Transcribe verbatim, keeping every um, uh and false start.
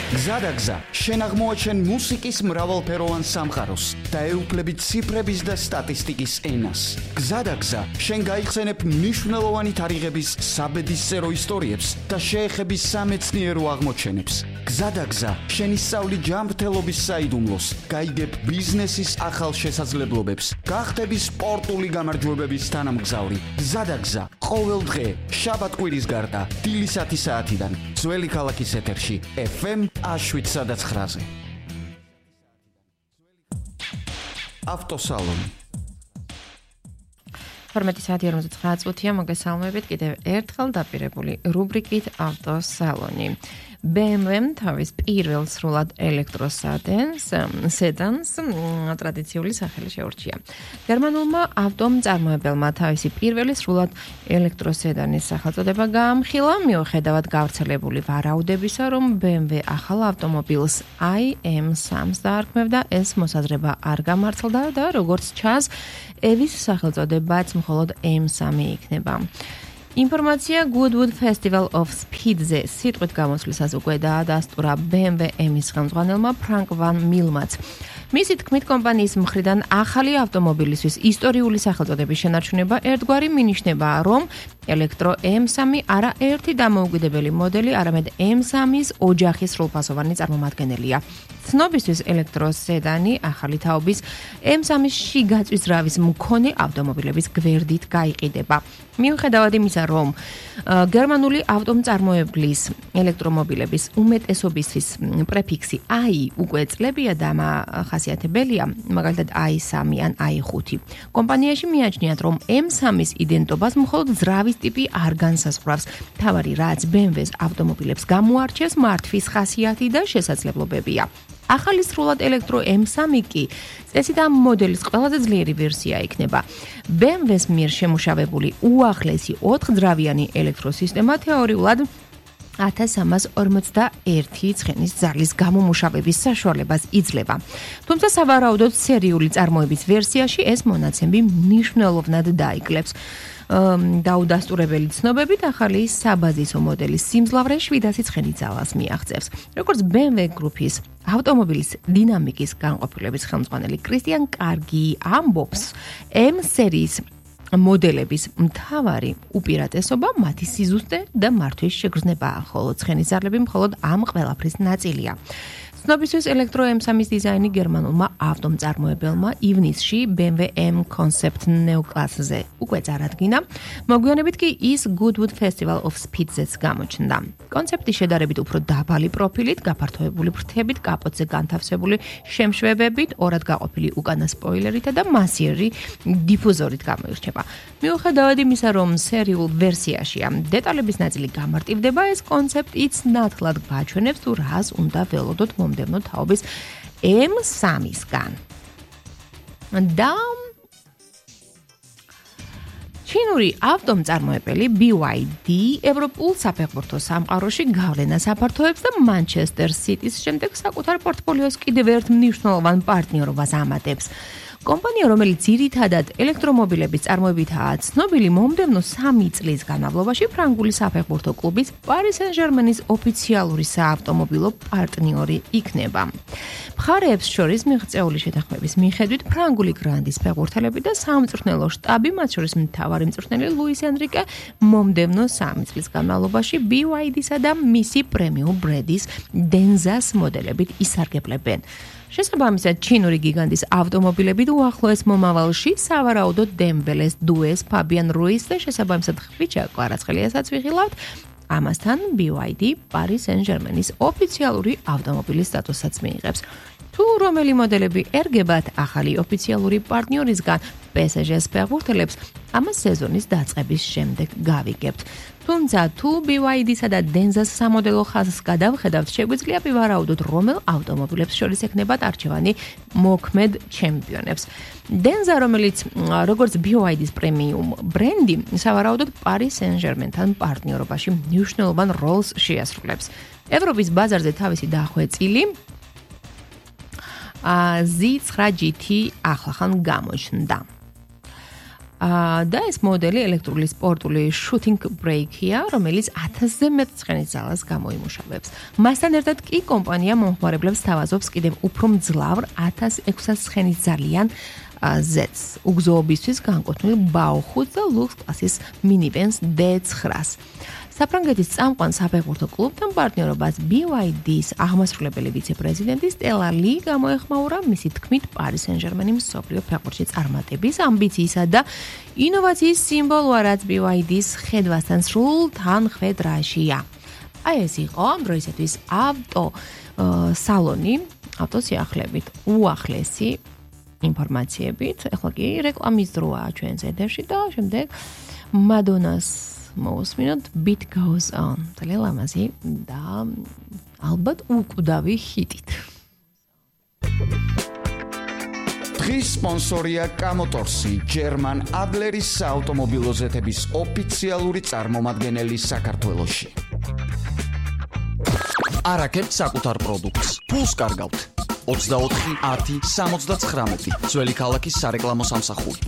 გზადაგზა, შენ აღმოაჩენ მუსიკის მრავალფეროვან სამყაროს და ეუფლები ციფრების და სტატისტიკის ენას. გზადაგზა, შენ გაიხსენებ მნიშვნელოვანი თარიღების საბედისწერო ისტორიებს და შეეხები სამეცნიერო აღმოჩენებს. გზადაგზა, შენ ისწავლი ჯანმრთელობის საიდუმლოს, გაიგებ ბიზნესის ახალ შესაძლებლობებს, გახდები სპორტული გამარჯვებების თანამგზავრი. გზადაგზა, ყოველ დღე, შაბათ-კვირის გარდა, დილისათი საათიდან, ძველი ქალაქის ეთერში, ეფ ემ შვიდსა და ცხრაზე. ავტოსალონი. თორმეტი საათი ორმოცდათვრამეტი წუთია, მოგესალმებით კიდევ ერთხელ დაპირებული რუბრიკით ავტოსალონი. ბე ემ ვემ თავის პირველ სრულად ელექტროსადენს სედანს ტრადიციული სახელი შეურჩია. გერმანულმა ავტომწარმოებელმა თავისი პირველი სრულად ელექტროსედანის სახელწოდება გაამხილა, მიუხედავად გავრცელებული ვარაუდებისა, რომ ბე ემ ვე ახალ ავტომობილს აი ემ სამს დაარქმევდა, ეს მოსაზრება არ გამართლდა და როგორც ჩანს, ევის სახელწოდებაც მხოლოდ ემ სამი იქნება. ინფორმაცია Goodwood Festival of Speed-ზე სიტყვით გამოსვლისას უკვე დაადასტურა ბე ემ ვე ემის ხელმძღვანელმა ფრანკ ვან მილმაც. მისი თქმით, კომპანიის მხრიდან ახალი ავტომობილისთვის ისტორიული სახელწოდების შენარჩუნება ერთგვარი მინიშნებაა, რომ ელექტრო ემ სამი არა ერთი დამოუკიდებელი მოდელი, არამედ ემ სამის ოჯახის სრულფასოვანი წარმომადგენელია. ცნობისთვის ელექტროსედანი ახალი თაობის ემ სამის შიგაწვის ძრავის მქონე ავტომობილების გვერდით გაიყიდება. მიუხედავად იმისა, რომ გერმანული ავტომწარმოებლის ელექტრომობილების უმეტესობისთვის პრეფიქსი აი უკვე წლებია და ხასიათებელია, მაგალითად აი სამი ან აი ხუთი. კომპანიაში მიაჩნიათ, რომ ემ სამის იდენტობას მხოლოდ ძრავის ტიპი არ განსაზღვრავს. თავარი რაც ბე ემ ვეს ავტომობილებს გამოარჩევს მართვის ხასიათი და შესაძლებლობებია. ახალი სრულად ელექტრო ემ სამი კი წესით ამ მოდელის ყველაზე ძლიერი ვერსია იქნება. ბე ემ ვეს მიერ შემუშავებული უახლესი ოთხძრავიანი ელექტროსისტემა თეორიულად ათას სამას ორმოცდაერთი ცხენის ძალის გამომუშავების საშუალებას იძლევა. თუმცა სავარაუდოდ სერიული წარმოების ვერსიაში ეს მონაცემი მნიშვნელოვნად დაიკლებს. დაუდასტურებელი ცნობებით ახალი საბაზისო მოდელის სიმძლავრე შვიდასი ცხენი ძალას მიაღწევს. როგორც ბე ემ ვე გრუპის ავტომობილის დინამიკის განყოფილების ხელმძღვანელი კრისტიან კარგი ამბობს, ემ სერიის მოდელების მთავარი უპირატესობა მათი სიზუსტე და მართვის შეგრძნებაა, ხოლო ცხენის ძალები მხოლოდ ამ ყველაფრის ნაწილია. ცნობისთვის ელექტრო ემ სამის დიზაინი გერმანულმა ავტომწარმოებელმა ივნისში ბე ემ ვე M Concept Neo კლასზე უკვე წარადგინა. მოგვიანებით კი ის Goodwood Festival of Speed-ზეც გამოჩნდა. კონცეპტი შედარებით უფრო დაბალი პროფილით, გაფართოებული ფრთებით, კაპოტზე განთავსებული შემშვებებით, ორად გაყოფილი უკანა სპოილერითა და მასიერი დიფუზორით გამოირჩევა. მიუხედავად იმისა, რომ სერიულ ვერსიაშია დეტალების ნაწილი გამარტივდება, ეს კონცეპტიც ნათლად გვაჩვენებს თუ რას უნდა ველოდოთ მომდევნო თაობის ემ სამისგან. და ჩინური ავტომწარმოებელი ბი უაი დი ევროპულ საფეხბურთო სამყაროში გავლენას აფართოებს და მანჩესტერ სიტის შემდეგ საკუთარ პორტფოლიოს კიდევ ერთ მნიშვნელოვან პარტნიორობას ამატებს. კომპანია, რომელიც ძირითადად ელექტრომობილების წარმოებითაა ცნობილი, მომდევნო სამი წლის განმავლობაში ფრანგული საფეხბურთო კლუბის Paris Saint-Germain-ის ოფიციალური საავტომობილო პარტნიორი იქნება. მხარეებს შორის მიღწეული შეთანხმების მიხედვით ფრანგული გრანდის ფეხბურთელები და სამწვრთნელო შტაბი, მათ შორის მთავარი მწვრთნელი ლუის ენრიკე, მომდევნო სამი წლის განმავლობაში ბი უაი დი-სა და მისი პრემიუმ ბრენდის დენზას მოდელებით ისარგებლებენ. შესაბამისად, ჩინური გიგანტის ავტომობილები უახლოეს მომავალში სავარაუდოდ დემბელეს დუეს, ფაბიან რუის და შესაბამისად ხვიჩა კვარაცხელიასაც ვიხილავთ. ამასთან ბი უაი დი Paris Saint-Germain-ის ოფიციალური ავტომობილის სტატუსსაც მიიღებს. თუ რომელი მოდელები ერგებათ ახალი ოფიციალური პარტნიორისგან პე ეს ჟეს ფეხბურთელებს, ამას სეზონის დაწყების შემდეგ გავიგებთ. თუმცა თუ ბი უაი დი-სა და დენზას სამოდელო ხაზს გადავხედავთ, შეგვიძლია ვივარაუდოთ, რომელ ავტომობილებს შორის ექნებათ არჩევანი მოქმედ ჩემპიონებს. დენზა, რომელიც როგორც ბი უაი დი-ის პრემიუმ ბრენდი, სავარაუდოდ Paris Saint-Germain-თან პარტნიორობაში მნიშვნელოვან როლს შეასრულებს. ევროპის ბაზარზე თავისი დახვეწილი ზი ცხრა ჯი თი ახლახან გამოჩნდა. და ეს მოდელი ელექტრული სპორტული shooting brake-ია, რომელიც ათასზე მეტ ცხენის ძალას გამოიმუშავებს. მასთან ერთად კი კომპანია მომხმარებლებს თავაზობს კიდევ უფრო მძლავრ ათას ექვსას ცხენის ძალიან ზეთს, უგზოობისთვის განკუთვნილ ბაუხუთს და ლუქს კლასის მინივენს დე ცხრას. საფრანგეთის წამყვან საფეხბურთო კლუბთან პარტნიორობას ბი ვაი დის აღმასრულებელი ვიცე-პრეზიდენტი სტელა ლი გამოეხმაურა მისი თქმით პარი სენ-ჟერმენი მსოფლიო ფეხბურთში წარმატების ამბიციისა და ინოვაციის სიმბოლოა, რაც ბი ვაი დის ხედვასთან სრულ თანხვედრაშია. აი ეს იყო ამ დროისათვის ავტო სალონი, ავტოსიახლებით უახლესი ინფორმაციებით. ეხლა კი რეკლამის დროა ჩვენს ეთერში და შემდეგ მადონას მოვუსმინოთ Beat Goes On. ძალიან ლამაზი და ალბათ უკვდავი ჰიტით. დღის სპონსორია კამოტორსი, ჯერმან ადლერის საავტომობილო ზეთების ოფიციალური წარმომადგენელი საქართველოში. არაკეთებთ საკუთარ პროდუქტს. ფულს კარგავთ. ოცდაოთხი ათი სამოცდათხრამეტი ძველი ქალაქის სარეკლამო სამსახური.